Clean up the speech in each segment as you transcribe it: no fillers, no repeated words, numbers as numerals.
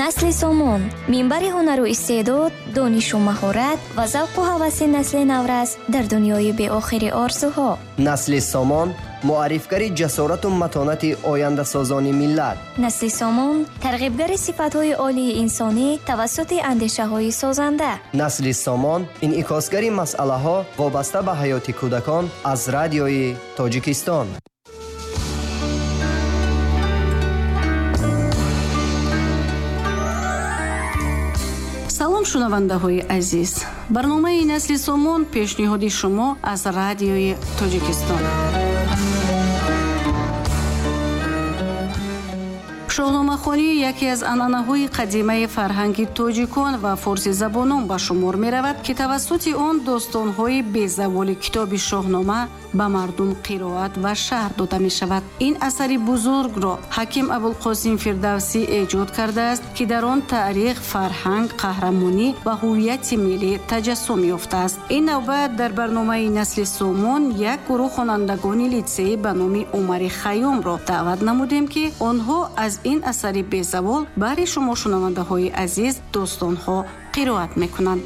Насли Сомон минбари ҳунару истеъдод, донишу маҳорат ва завқу ҳаваси насли наврас дар дунёи беохири орзуҳо. Насли Сомон муаррифгари ҷасорату матонати ояндасозони миллат. Насли Сомон тарғибгари сифатҳои олии инсонӣ тавассути андешаҳои созанда. Насли Сомон инъикосгари масъалаҳо вобаста ба ҳаёти кӯдакон аз радиои Тоҷикистон. Салом, шунавандаҳои азиз. Барномаи Насли Сомон пешниҳоди шумо аз радиои Тоҷикистон. Шоҳномахонӣ яке аз анъанаҳои қадимаи фарҳанги тоҷикон ва форсизабонон ба шумор меравад, ки тавассути он достонҳои безаволи китоби Шоҳнома ба мардум қироат ва шарҳ дода мешавад. Ин асари бузургро ҳаким Абулқосим Фирдавсӣ эҷод кардааст, ки дар он таърих, фарҳанг, қаҳрамонӣ ва ҳуввияти миллӣ таҷассум ёфтааст. Ин навбат дар барномаи Насли Сомон як гурӯҳ хонандагони литсей ба номи Умари Хайёмро даъват намудем, ки онҳо аз ин асари безавол баҳри шумо шунавандаҳои азиз достонҳо қироат мекунанд.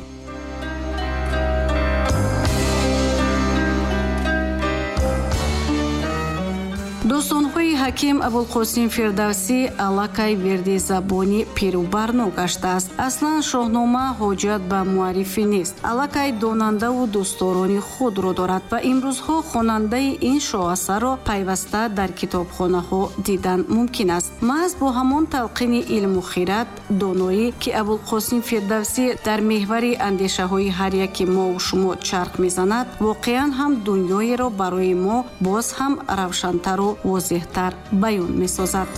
Достонҳои ҳаким Абулқосим Фирдавсӣ аллакай вирди забони пиру барно гаштааст. Аслан Шоҳнома ҳоҷат ба муаррифӣ нест, аллакай донандаву дӯстдорони худро дорад ва имрӯзҳо хонандаи ин шоҳасарро пайваста дар китобхонаҳо дидан мумкин аст. Маҳз бо ҳамон талқини илму хират, доноӣ, ки Абулқосим Фирдавсӣ дар меҳвари андешаҳои ҳар яки мову шумо чарх мезанад, воқеан ҳам дунёеро барои мо боз ҳам равшантару возеҳтар баён месозад.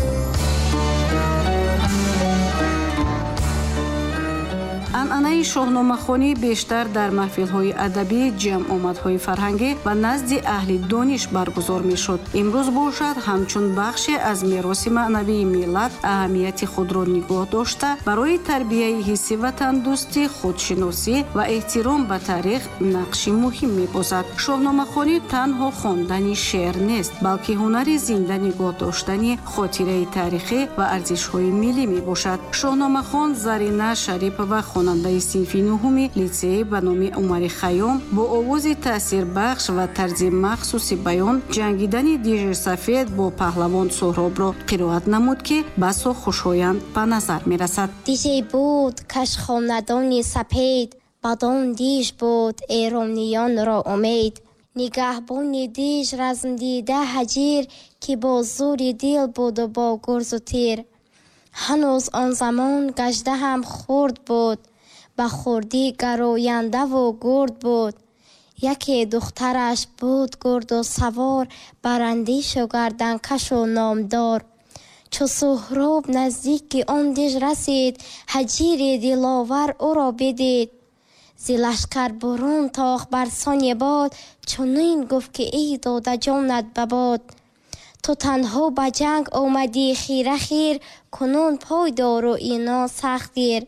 Анъанаи шоҳномахонӣ бештар дар маҳфилҳои адабӣ, ҷамъомадҳои фарҳангӣ ва назди аҳли дониш баргузор мешуд. Имрӯз бошад, ҳамчун бахше аз мероси маънавии миллат аҳамияти худро нигоҳ дошта, барои тарбияи ҳисси ватандӯстӣ, худшиносӣ ва эҳтиром ба таърих нақши муҳим мебозад. Шоҳномахонӣ танҳо хондани шеър нест, балки ҳунари зинда нигоҳ доштани хотираи таърихӣ ва арзишҳои миллӣ мебошад. Шоҳномахон Зарина Шарипова, хонандаи синфи нуҳуми литсей ба номи Умари Хайём, бо овози таъсирбахш ва тарзи махсуси баён ҷангидани дижи сафед бо паҳлавон Суҳробро қироат намуд, ки басо хушоянд ба назар мерасад. Диже буд кашхонадони сапед, бадон диж буд эрониёнро умед. Нигаҳбони диж размдида ҳаҷир, ки бо зури дил буду бо гурзу тир. Ҳанӯз он замон гаждаҳам хурд буд, ба хурдӣ гарояндаву гурд буд. Яке духтараш буд гурду савор, барандешу гарданкашу номдор. Чу Суҳроб наздики он диж расид, ҳаҷири диловар ӯро бидид. Зи лашкар бурун тохт бар сони бод, чунин гуфт ки эй дода ҷонат ба бод. Ту танҳо ба ҷанг омадӣ хира хир, кунун пой дору ино сахт гир.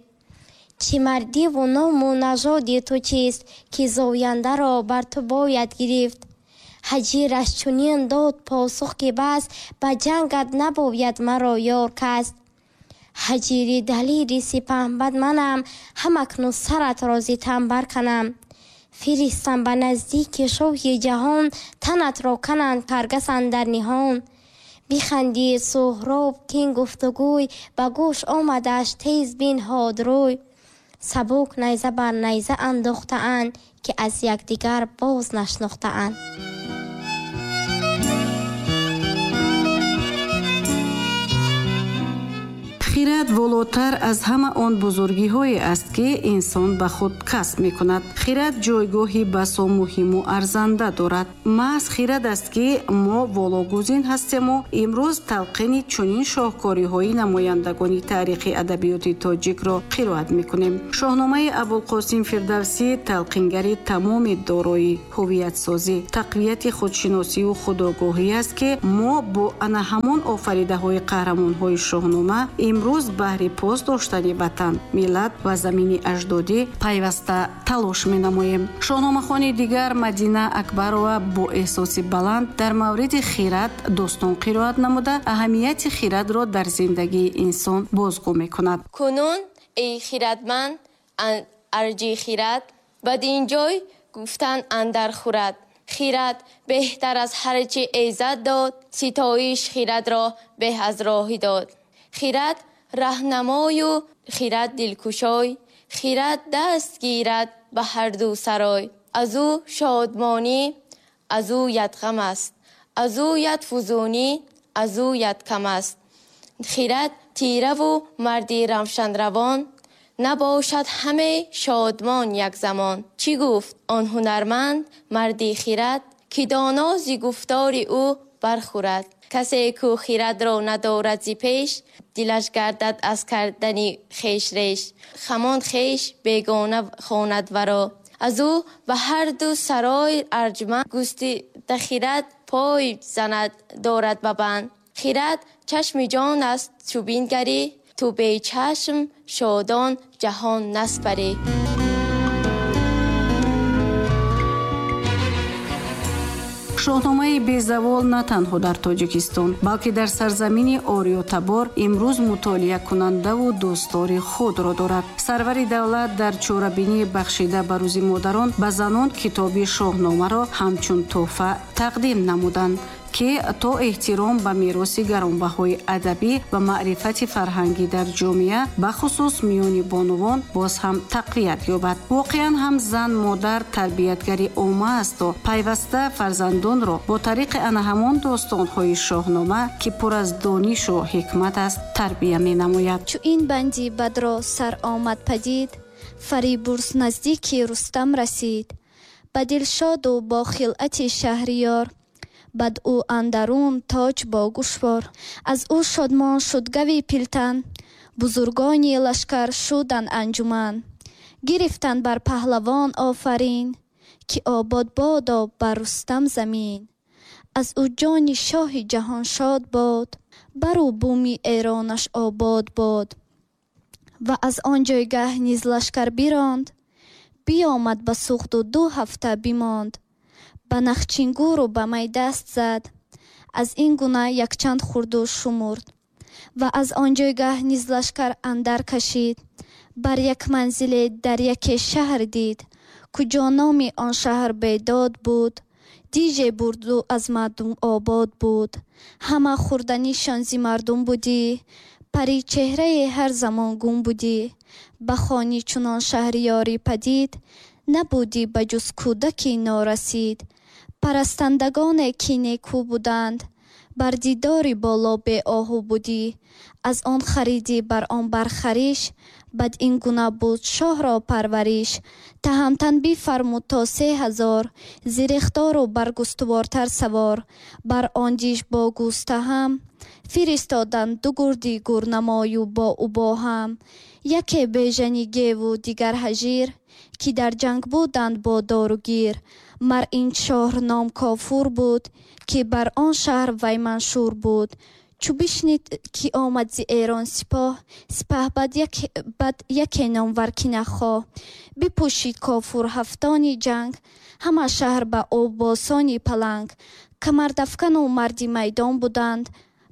Чӣ мардиву ному нажоди ту чист, ки зояндаро бар ту бояд гирифт. Ҳаҷираш чунин дод посух ки бас, ба ҷангат набояд маро ёр кас. Ҳаҷири далири сипаҳбад манам, ҳамакнун саратро зи тан барканам. Фиристам ба наздики шоҳи ҷаҳон, танатро кананд каргас андар ниҳон. Бихандид Суҳроб кин гуфтугӯй, ба гӯш омадаш тез бинҳод рӯй. Сабук найза бар найза андохтаанд, ки аз якдигар боз нашнохтаанд. Хират волотар аз ҳама он бузургиҳое аст, ки инсон ба худ касб мекунад. Хират ҷойгоҳи басо муҳиму арзанда дорад. Маҳз хират аст, ки мо вологузин ҳастему имрӯз талқини чунин шоҳкориҳои намояндагони таърихи адабиёти тоҷикро қироат мекунем. Шоҳномаи Абулқосим Фирдавсӣ талқингари тамоми дорои ҳуввиятсозӣ, тақвияти худшиносиву худогоҳӣ аст, ки мо бо ана ҳамон офаридаҳои қаҳрамонҳои Шоҳнома имрӯз Имрӯз баҳри пос доштани ватан, миллат ва замини аҷдодӣ пайваста талош менамоем. Шоҳномахони дигар Мадина Акбарова бо эҳсоси баланд дар мавриди хирад достон қироат намуда, аҳамияти хирадро дар зиндагии инсон бозгӯ мекунад. Кунун эй хирадманд арҷи хирад, бадин ҷой гуфтан андар хӯрад. Хирад беҳтар аз ҳар чи эзад дод, ситоиш хирадро беҳ аз роҳи дод. Хирад раҳнамою хирад дилкушой, хирад даст гирад ба ҳар ду сарой. Аз ӯ шодмонӣ, аз ӯ яд ғам аст, аз ӯ яд фузунӣ, аз ӯ яд кам аст. Хирад тираву марди равшанравон, набошад ҳаме шодмон як замон. Чӣ гуфт он ҳунарманд марди хирад, ки доно зи гуфтори ӯ бархӯрад. Касе ку хирадро надорад зи пеш, дилаш гардад аз кардани хеш реш. Хамон хеш бегона хонад варо, аз ӯ ба ҳар ду сарой арҷманд. Густида хирад пой занад дорад ба банд. Хирад чашми ҷон аст чу бингарӣ, ту бечашм шодон ҷаҳон наспарӣ. Шоҳномаи безавол на танҳо дар Тоҷикистон, балки дар сарзамини Ориётабор имрӯз мутолиакунандаву дӯстдори худро дорад. Сарвари давлат дар чорабинии бахшида ба рӯзи модарон ба занон китоби шоҳномаро ҳамчун тӯҳфа тақдим намуданд, ки то эҳтиром ба мероси гаронбаҳои адабӣ ва маърифати фарҳангӣ дар ҷомеа, бахусус миёни бонувон, боз ҳам тақвият ёбад. Воқеан ҳам зан модар тарбиятгари омма асту пайваста фарзандонро бо тариқи ана ҳамон достонҳои шоҳнома, ки пур аз донишу ҳикмат аст, тарбия менамояд. Чу ин банди бадро сар омад падид, Фарибурз наздики Рустам расид. Ба дилшоду бо хилъати шаҳриёр, бад ӯ андарун тоҷ бо гӯшвор. Аз ӯ шодмон шуд гави пилтан, бузургони лашкар шуданд анҷуман. Гирифтанд бар паҳлавон офарин, ки обод бодо бар Рустам замин. Аз ӯ ҷони шоҳи ҷаҳон шод бод, бару буми эронаш обод бод. Ва аз он ҷойгаҳ низ лашкар биронд, биомад ба Суғду 2 ҳафта бимонд. Ба нахчингуру ба май даст зад, аз ин гуна якчанд хурду шумурд. Ва аз он ҷойгаҳ низ лашкар андар кашид, бар як манзиле дар яке шаҳр дид. Куҷо номи он шаҳр бедод буд, диже бурду аз мардум обод буд. Ҳама хӯрданишон зи мардум будӣ, пари чеҳрае ҳар замон гум будӣ. Ба хони чунон шаҳриёрӣ падид, набудӣ ба ҷуз кӯдаки норасид. Парастандагоне ки некӯ буданд, бар дидори боло беоҳу будӣ. Аз он харидӣ бар он бархариш, бад ин гуна буд шоҳро парвариш. Таҳамтан бифармуд то 3000, зирехтору баргустувортар савор. Бар он диш бо гӯстаҳам фиристоданд ду гурди гурнамою бо ӯ бо ҳам. Яке бежани геву дигар ҳажир, ки дар ҷанг буданд бо доругир. Мар ин шоҳ ном Кофур буд, ки бар он шаҳр вай маншур буд. Чу бишнид ки омад зи Эрон сипоҳ, сипаҳ бад яке номвар ки нахоҳ. Бипӯшид Кофур ҳафтони ҷанг, ҳама шаҳр ба обосони паланг. Камардафкану марди майдон буданд,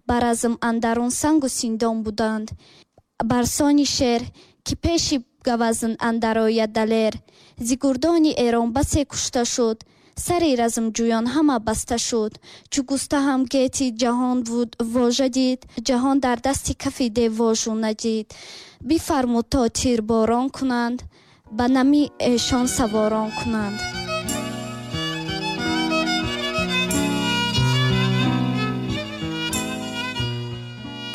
ба разм андарун сангу синдон буданд. Барсони шер, ки пеши гавазн андарояд далер, зи гурдони Эрон басе кушта шуд, сари размҷӯён ҳама баста шуд. Чу густаҳам гети ҷаҳон вожа дид, ҷаҳон дар дасти кафи дев вожу надид. Бифармуд то тирборон кунанд, ба нами эшон саворон кунанд.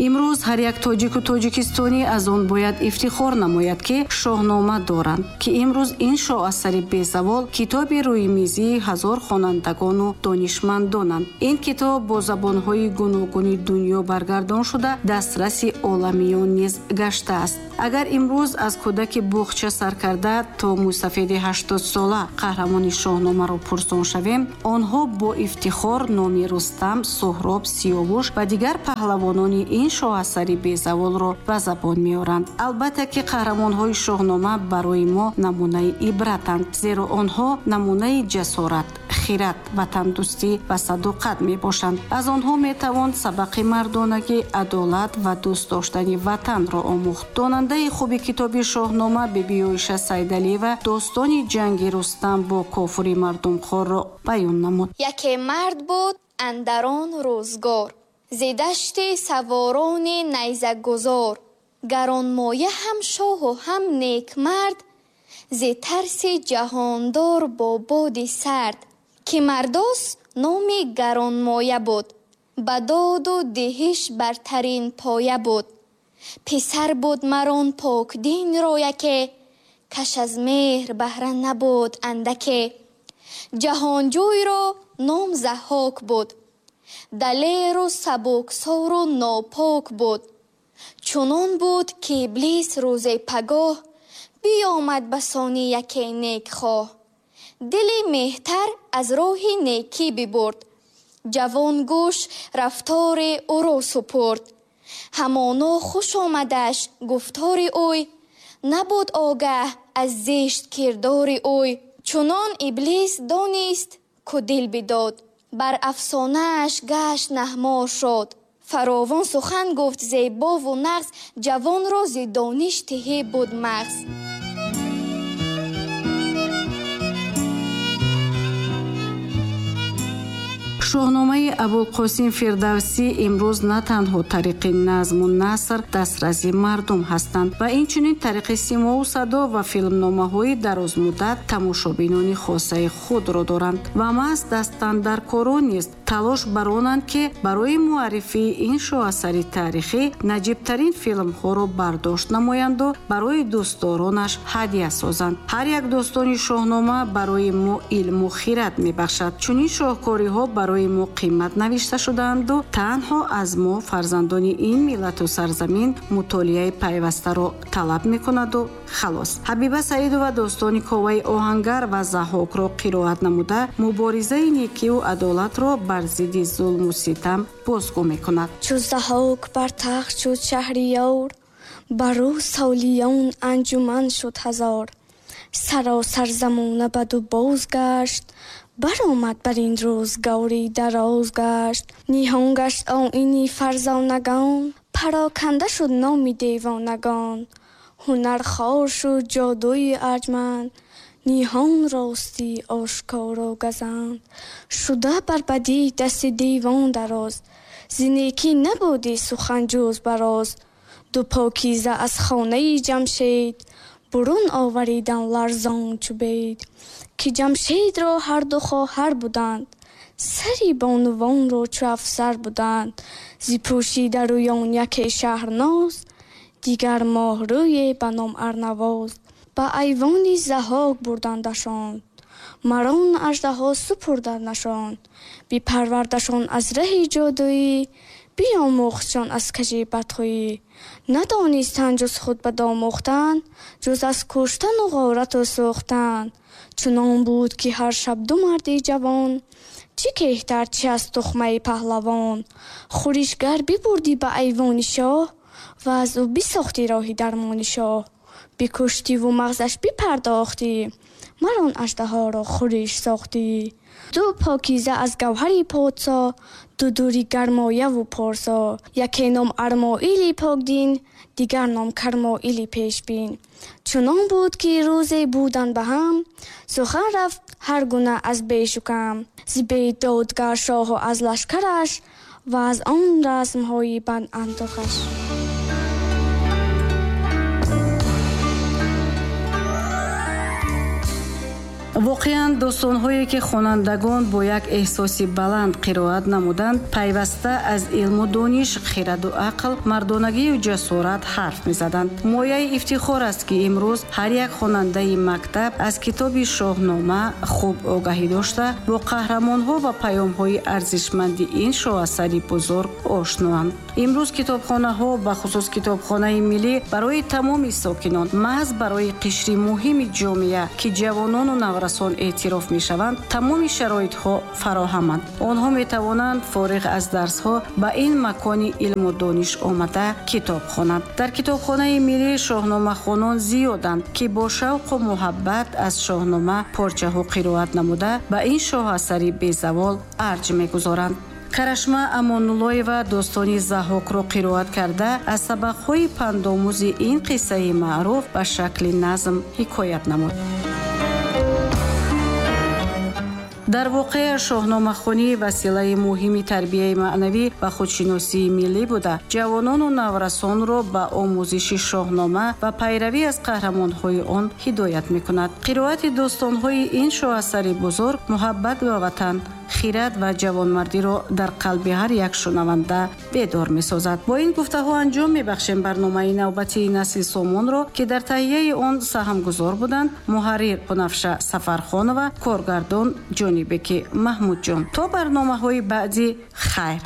Имрӯз ҳар як тоҷику тоҷикистонӣ аз он бояд ифтихор намояд, ки шоҳнома доранд, ки имрӯз ин шоҳасари безавол китоби рӯимизии ҳазор хонандагону донишмандонанд. Ин китоб бо забонҳои гуногуни дунё баргардон шуда, дастраси оламиён низ гаштааст. Агар имрӯз аз кӯдаки буғча сар карда то мусафеди 80-сола қаҳрамони шоҳномаро пурсон шавем, онҳо бо ифтихор номи Рустам, Суҳроб, Сиёвуш ва дигар паҳлавонони ин ин шоҳасари безаволро ба забон меоранд. Албатта ки қаҳрамонҳои Шоҳнома барои мо намунаи ибратанд, зеро онҳо намунаи ҷасорат, хират, ватандӯстӣ ва садоқат мебошанд. Аз онҳо метавон сабақи мардонагӣ, адолат ва дӯст доштани ватанро омӯхт. Донандаи хуби китоби Шоҳнома Бибиёиша Сайдалиева достони ҷанги Рустам бо кофури мардумхорро баён намуд. Яке мард буд андарон рӯзгор, зи дашти саворони найзагузор, гаронмоя ҳам шоҳу ҳам некмард, зи тарси ҷаҳондор бо боди сард, ки мардос номи гаронмоя буд, ба доду диҳиш бартарин поя буд. Писар буд марон покдинро яке, каш аз меҳр баҳра набуд андаке. Ҷаҳонҷӯйро ном Заҳҳок буд, далеру сабуксору нопок буд. Чунон буд, ки Иблис рӯзе пагоҳ биёмад ба сони яке некхоҳ. Дили меҳтар аз роҳи некӣ бибурд, ҷавон гӯш рафтори ӯро супурд. Ҳамоно хуш омадаш гуфтори ӯй, набуд огаҳ аз зишт кирдори ӯй. Чунон Иблис донист, ку дил бидод, бар афсонааш гашт наҳмор шуд. Фаровон сухан гуфт зебову нағз, ҷавонро зи дониш тиҳӣ буд мағз. Шоҳномаи Абулқосим Фирдавсӣ имрӯз на танҳо тариқи назму наср дастраси мардум ҳастанд ва инчунин тариқи симову садо ва филмномаҳои дарозмуддат тамошобинони хосаи худро доранд ва маҳз дастандаркорон низ талош баронанд, ки барои муаррифии ин шоҳасари таърихӣ наҷибтарин филмҳоро бардошт намоянду барои дӯстдоронаш ҳадя созанд. Ҳар як достони Шоҳнома барои мо илму хират мебахшад. Чунин шоҳкориҳо барои мо қимат навишта шудаанду танҳо аз мо фарзандони ин миллату сарзамин мутолиаи пайвастаро талаб мекунаду халос. Ҳабиба Саидова достони Коваи оҳангар ва Заҳҳокро қироат намуда, муборизаи некиву адолатро бар зидди зулму ситам бозгӯ мекунад. Чу Заҳҳок бар тахт шуд шаҳриёр, бар ӯ солиён анҷуман шуд ҳазор. Саросар замона баду боз гашт, баромад бар ин рӯзгори дароз гашт. Ниҳон гашт оини фарзонагон, пароканда шуд номи девонагон. Ҳунар хор шуд ҷодуи арҷманд, ниҳон ростӣ ошкоро газанд. Шуда бар бадӣ дасти девон дароз, зи некӣ набудӣ сухан ҷуз бароз. Ду покиза аз хонаи Ҷамшед бурун оваридан ларзон чу бед. Ки Ҷамшедро ҳарду хоҳар буданд, сари бонувонро чу афсар буданд. Зи пӯшида рӯён яке шаҳрноз, дигар моҳрӯе ба ном Арнавоз. Ба айвони Заҳҳок бурдандашон, марон аждаҳо супурдандашон. Бипарвардашон аз раҳи ҷодуӣ, биомӯхтшон аз кажи бадхӯӣ. Надонистанд ҷуз худ ба домӯхтан, ҷуз аз куштану ғорату сӯхтан. Чунон буд, ки ҳар шаб ду марди ҷавон, чӣ кеҳтар, чӣ аз тухмаи паҳлавон. Хӯришгар бибурдӣ ба айвони шоҳ ва аз ӯ бисохтӣ роҳи дармони шоҳ. Бикуштиву мағзаш бипардохтӣ, марон аждаҳоро хӯриш сохтӣ. Ду покиза аз гавҳари подшоҳ, ду дури гармояву порсо. Яке ном Армоили покдин, дигар ном Кармоили пешбин. Чунон буд, ки рӯзе буданд ба ҳам, сухан рафт ҳар гуна аз бешу кам. Зи бедодгар шоҳу аз лашкараш ва аз он расмҳои бандандохаш. Воқеан достонҳое ки хонандагон бо як эҳсоси баланд қироат намуданд, пайваста аз илму дониш, хираду ақл, мардонагию ҷасорат ҳарф мезаданд. Мояи ифтихор аст, ки имрӯз ҳар як хонандаи мактаб аз китоби Шоҳнома хуб огаҳӣ дошта, бо қаҳрамонҳо ва паёмҳои арзишманди ин шоҳасари бузург ошноанд. Имрӯз китобхонаҳо, бахусус китобхонаи миллӣ, барои тамоми сокинон, маҳз барои қишри муҳими ҷомеа, ки ҷавонону Наврасон эътироф мешаванд, тамоми шароитҳо фароҳаманд. Онҳо метавонанд фориғ аз дарсҳо ба ин макони илму дониш омада, китоб хонанд. Дар Китобхонаи миллӣ шоҳномахонон зиёданд, ки бо шавқу муҳаббат аз Шоҳнома порчаҳо қироат намуда, ба ин шоҳасари безавол арҷ мегузоранд. Карашма Амонуллоева достони Заҳокро қироат карда, аз сабақҳои пандомӯзи ин қиссаи маъруф ба шакли назм ҳикоят намуд. Дар воқеъ, шоҳномахонӣ василаи муҳими тарбияи маънавӣ ва худшиносии миллӣ буда, ҷавонону наврасонро ба омӯзиши Шоҳнома ва пайравӣ аз қаҳрамонҳои он ҳидоят мекунад. Қироати достонҳои ин шоҳасари бузург муҳаббат ба ватан, хирад ва ҷавонмардиро дар қалби ҳар як шунаванда бедор месозад. Бо ин гуфтаҳо анҷом мебахшем барномаи навбатии Насли Сомонро, ки дар таҳияи он саҳмгузор буданд муҳаррир Бунафша Сафархонова, коргардон Ҷонибеки Маҳмудҷон. То барномаҳои баъдӣ, хайр.